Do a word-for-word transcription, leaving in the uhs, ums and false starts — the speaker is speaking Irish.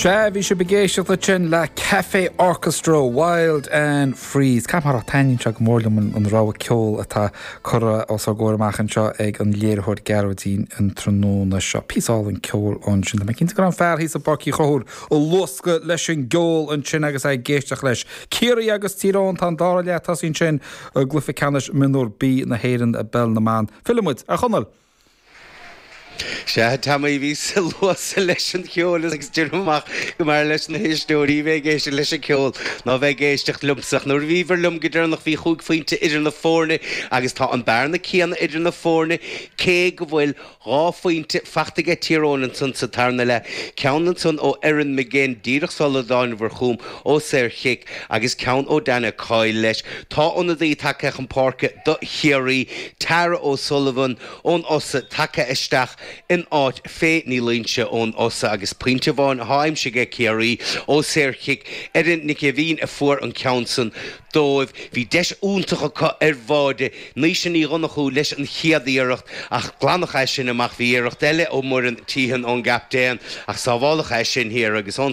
Sea, bhí sibh ag éisteacht ansin le Cafe Orchestra Wild and Free. Caithfidh taitníonn sé go mór liom an rogha ceoil atá curtha os ár gcomhair amach anseo ag an léiritheoir Gearóidín an tráthnóna seo. Píosa álainn ceoil ansin. Tá mé cinnte go raibh an fear thíos i bPáirc Uí Chonchúir ag luascadh leis an gceol ansin agus é ag éisteacht leis. Ciarraí agus Tír Eoghain tá an dara leath tosaithe ansin i gcluiche ceannais mionúr B na hÉireann i bpeil na mban. Fillfimid ar Chonall. Sea tá mé bhí sa luas leis an cheol agus dúramach go mar leis na héisteoirí bheith ag éisteacht leis an ceol ná bheith ag éisteacht liomsa nuair a bhíobhair liom go deireanach bhí chúig phointe idir na foirne agus tá an bearna céanna idir na foirne cé go bhfuil dhá phointe faighte ag Tír Eoghain ansan sa tarna leath ceann ansan ó Erin McGinn díreach sula dtánabhar chugam ó saorchic agus ceann ó Dana Coyle leis. Tá ionadaí tagtha chun páirce do Chiarraí Tara O'Sullivan ón Fhosadh tagtha isteach in áit Faye Ní Loinse ón Fhosadh agus pointe amháin atá aimsithe ag Ciarraí ó saorchic Erin Nic Bhín a fuair an ceann san dóibh. Bhí deis iontach acu ar bháide Naoise Ní Dhonnchú leis an chéad iarracht ach glanadh é sin amach bhí iarracht eile ó Muireann Teehan ón gcaptaen ach sábháladh é sin thiar agus ón